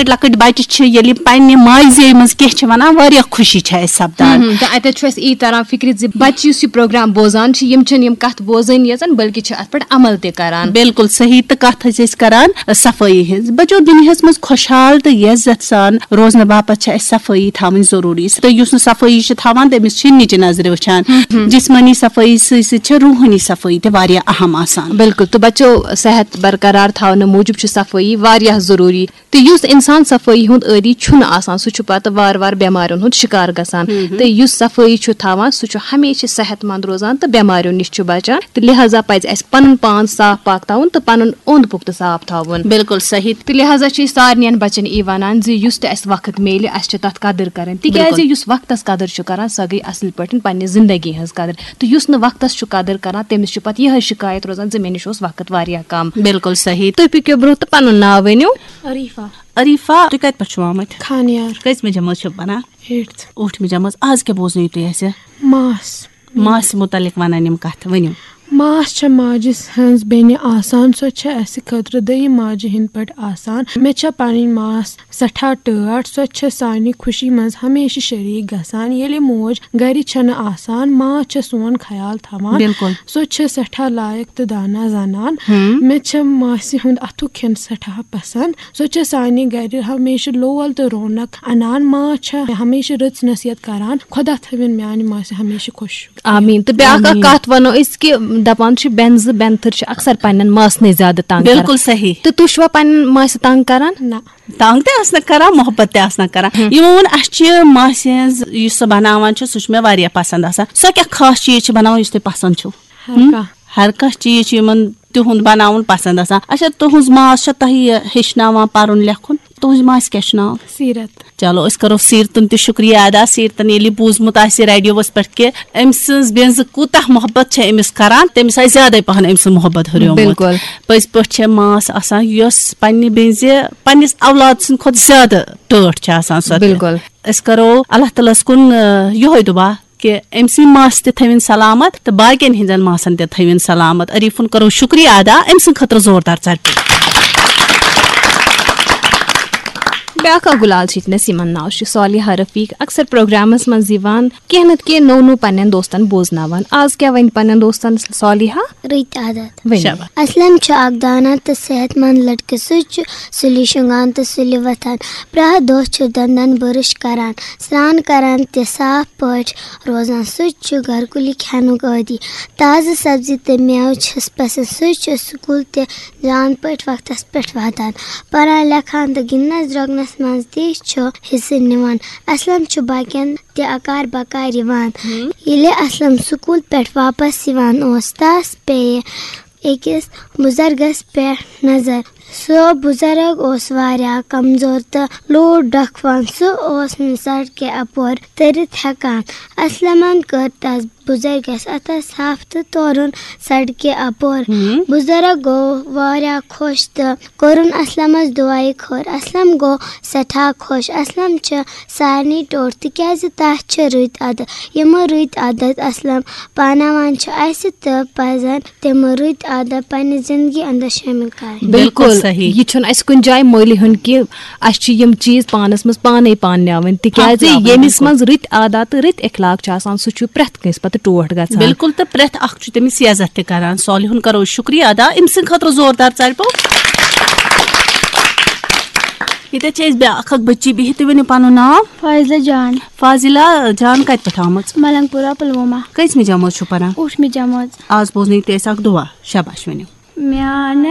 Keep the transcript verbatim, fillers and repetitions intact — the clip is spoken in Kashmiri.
لۄکٕٹۍ لۄکٕٹۍ بچہِ چھِ، ییٚلہِ یِم پننہِ ماجہِ زیٚیہِ منٛز کینٛہہ چھِ ونان، واریاہ خوشی چھِ اَسہِ سپدان۔ ہم، تہٕ اتٮ۪تھ چھُ اَسہِ یی تران فکرِ زِ بچہِ یُس یہِ پروگرام بوزان چھِ، یِم چھِنہٕ یِم کتھ بوزٲنی یٲژن، بلکہِ چھِ اتھ پٮ۪ٹھ عمل تہِ کران۔ بالکل صحیح، تہٕ کتھ حظ چھِ أسۍ کران صفٲیی ہٕنٛز۔ بچو، دُنیاہس منٛز خۄشحال تہٕ یزت سان روزنہٕ باپتھ چھِ اَسہِ صفٲیی تھاوٕنۍ ضروٗری، تہٕ یُس نہٕ صفٲیی چھِ تھاوان، تٔمِس چھِ نِچہِ نظرِ وٕچھان۔ جسمٲنی صفٲیی سۭتۍ سۭتۍ چھِ روحٲنی صفٲیی تہِ واریاہ اہم آسان۔ بالکل، تہٕ بچو، صحت برقرار تھاونہٕ موٗجوٗب چھِ صفٲیی واریاہ ضروٗری۔ تہٕ یُس انسان صفٲیی ہُنٛد عٲدی چھُنہٕ آسان، سُہ چھُ پتہٕ وارٕ وارٕ بٮ۪مارٮ۪ن ہُنٛد شِکار گژھان۔ تہٕ یُس صفٲیی چھُ تھاوان، سُہ چھُ ہمیشہِ صحت مند روزان تہٕ بٮ۪مارٮ۪و نِش چھُ بچان۔ تہٕ لہذا پزِ اَسہِ پنُن پان صاف پاک تھاوُن تہٕ پنُن اوٚنٛد پوٚک تہِ صاف تھاوُن۔ بالکل صحیح۔ تہٕ لہذا چھِ أسۍ سارنٕے بچن یی ونان زِ یُس تہِ اَسہِ وقت میلہِ، اَسہِ چھِ تتھ قدٕر کرٕنۍ، تِکیازِ بالکل۔ یُس وقتس قدٕر چھُ کران، سۄ گٔے اصل پٲٹھۍ پننہِ زندگی ہٕنٛز قدٕر۔ تہٕ یُس نہٕ وقتس چھُ قدٕر کران، تٔمِس چھُ پتہٕ یِہے شِکایت روزان زِ مےٚ نِش اوس وقت واریاہ کم۔ بالکل صحیح۔ تُہۍ پٔکِو برونٛہہ تہٕ پنُن ناو ؤنِو۔ عریفہ۔ عریفہ، تُہۍ کتہِ پٮ۪ٹھ چھِو آمٕتۍ؟ خانیار۔ کٔژمہِ جمٲژ چھِو پران؟ Eighth۔ ٲٹھمہِ جمٲژ۔ آز کیٛاہ بوزنٲیِو تُہۍ اَسہِ؟ ماس۔ ماسہِ مُتعلق ونان یِم کتھٕ، ؤنِو۔ ماس چھےٚ ماجہِ ہٕنٛز بیٚنہِ آسان، سۄ چھےٚ اَسہِ خٲطرٕ دوٚیِم ماجہِ ہٕنٛدۍ پٲٹھۍ آسان۔ مےٚ چھےٚ پنٕنۍ ماس سٮ۪ٹھاہ ٹٲٹھ، سۄ چھےٚ سانہِ خوشی منٛز ہمیشہِ شریٖک گژھان۔ ییٚلہِ موج گرِ چھنہٕ آسان، ماس چھےٚ سون خیال تھاوان۔ بالکل۔ سۄ چھےٚ سٮ۪ٹھاہ لایق تہٕ دانا زنان۔ ہم۔ مےٚ چھےٚ ماسہِ ہُنٛد اَتھُک کھٮ۪ن سٮ۪ٹھاہ پسنٛد۔ سۄ چھےٚ سانہِ گرِ ہمیشہِ لول تہٕ رونق انان۔ ماس چھےٚ ہمیشہِ رٕژ نصیحت کران۔ خۄدا تھٲوِن میانہِ ماسہِ ہمیشہِ خۄش۔ آمیٖن۔ تہٕ بیٛاکھ اکھ آمیٖن۔ کتھ ونو أسۍ کہِ دپان چھِ، بٮ۪نزٕ بٮ۪نتھٕر چھِ اکثر پننٮ۪ن ماسنٕے زیادٕ تنگ کران۔ بالکل صحیح۔ تہٕ تُہۍ چھِوا پننٮ۪ن ماسہِ تنگ کران؟ نہ۔ تنگ تہِ آسنہٕ کران، محبت تہِ آسنہٕ کران۔ ہم۔ یِمو ووٚن، اسہِ چھِ ماسہِ ہٕنٛز، یُس سۄ بناوان چھِ، سُہ چھُ مےٚ واریاہ پسند آسان۔ سۄ کیٛاہ خاص چیٖز چھِ بناوان یُس تُہۍ پسند چھُو؟ ہر ہم؟ کانٛہہ۔ ہر کانٛہہ چیٖز چھُ یِمن تِہُنٛد بناوُن پسند آسان۔ اچھا، تُہٕنٛز ماس چھا تۄہہِ یہِ ہیٚچھناوان پرُن لیکھُن؟ تُہٕنٛزِ ماسہِ کیٛاہ چھُ ناو؟ سیٖرت۔ چلو، أسۍ کرو سیٖرتُن تہِ شُکریہ ادا۔ سیٖرتن ییٚلہِ یہِ بوٗزمُت آسہِ ریڈیووَس پٮ۪ٹھ کہِ أمۍ سٕنٛز بیٚنزٕ کوٗتاہ محبت چھےٚ أمِس کران، تٔمِس آسہِ زیادَے پہن أمۍ سُنٛد محبت ہُریومُت۔ بالکل۔ پٔزۍ پٲٹھۍ چھےٚ ماس آسان، یۄس پننہِ بیٚنزِ، پننِس اولاد سٕنٛدِ کھۄتہٕ زیادٕ ٹٲٹھ چھےٚ آسان سۄ تہِ۔ بالکل۔ أسۍ کرو اللہ تعالیٰ ہَس کُن، آ، یِہوٚے دُعا کہِ أمۍ سٕنٛدِ ماسہِ تہِ تھٲوِن سلامت تہٕ باقین ہٕنٛزن ماسن تہِ تھٲوِن سلامت۔ عریٖفُن کرو شُکریہ ادا، أمۍ سٕنٛدِ خٲطرٕ زوردار ژٹہِ۔ بیٛاکھ اکھ گُلال چھِ ییٚتہِ نَس، یِمن ناو چھُ صالحہ رفیق، اکثر پروگرامس منٛز یِوان، کینٛہہ نتہٕ کینٛہہ نوٚو نوٚو پننٮ۪ن دوستن بوزناوان۔ آز کیٛاہ ونہِ پننٮ۪ن دوستن صالحہ؟ رٕتۍ عادت۔ ؤنِو۔ شاباش۔ اسلم چھُ اکھ دانا تہٕ صحت مند لڑکہٕ۔ سُہ چھُ سُلہِ شۄنٛگان تہٕ سُلہِ وۄتھان۔ پرٛٮ۪تھ دۄہ چھُ دنٛدن برش کران، سرٛان کران تہٕ صاف پٲٹھۍ روزان۔ سُہ چھُ گرکُلی کھٮ۪نُک عٲدی۔ تازٕ سبزی تہٕ مٮ۪وٕ چھِس پسند۔ سُہ چھُ سکوٗل تہِ جان پٲٹھۍ وقتس پٮ۪ٹھ واتان۔ پران لیکھان تہٕ گِنٛدنس درٛوٚگنس منٛز تہِ چھُ حصہٕ نِوان۔ اسلم چھُ باقین تہِ اکار بکار یِوان۔ ییٚلہِ اسلم سکوٗل پٮ۪ٹھ واپس یِوان اوس، تس پیٚیہِ أکِس بُزرگس پٮ۪ٹھ نظر۔ سُہ بُزرگ اوس واریاہ کمزور تہٕ لوٗر ڈکھوان۔ سُہ اوس نہٕ سڑکہِ اپور تٔرِتھ ہٮ۪کان۔ اسلمن کٔر تس بُزرگس اتھس تھپھ تہٕ تورُن سڑکہِ اپور۔ بُزرگ گوٚو واریاہ خۄش تہٕ کوٚرُن اسلمس دُعایہِ خٲر۔ اسلم گوٚو سٮ۪ٹھاہ خۄش۔ اسلم چھِ سارنٕے ٹوٹھ، تِکیازِ تس چھِ رٕتۍ عادت۔ یِم رٕتۍ عادت اسلم پاناوان چھِ، اسہِ تہِ پزن تِم رٕتۍ عادت پننہِ زندگی اندر شٲمِل کرٕنۍ۔ بالکل صحیح۔ یہِ چھُنہٕ اسہِ کُنہِ جایہِ مٔلۍ ہیوٚن کہِ اسہِ چھِ یِم چیٖز پانس منٛز پانے پانناوٕنۍ، تِکیازِ اپناوٕنۍ، ییٚمِس بالکل۔ منٛز رٕتۍ عادت تہٕ رٕتۍ اخلاق چھِ آسان، سُہ چھُ پرٛٮ۪تھ کٲنٛسہِ پتہٕ ٹوٹھ گژھان۔ بالکل، تہٕ پرٛٮ۪تھ اکھ چھُ تٔمِس یزتھ تہِ کران۔ صالحُن کرو شُکریہ ادا، أمۍ سٕنٛدِ خٲطرٕ زوردار ژَرِ پوٚو۔ ییٚتٮ۪تھ چھِ أسۍ بیٛاکھ اکھ بٔچی بِہِتھ، تُہۍ ؤنِو پنُن ناو؟ فاضلہ جان۔ فاضلہ جان کتہِ پٮ۪ٹھ آمٕژ؟ ملنگ پورہ پلوامہ۔ کٔژمہِ جمٲژ چھُو پران؟ ٲٹھمہِ جمٲژ۔ آز بوزنٲیِو تُہۍ اَسہِ اکھ دُعا، شاباش ؤنِو۔ میانہِ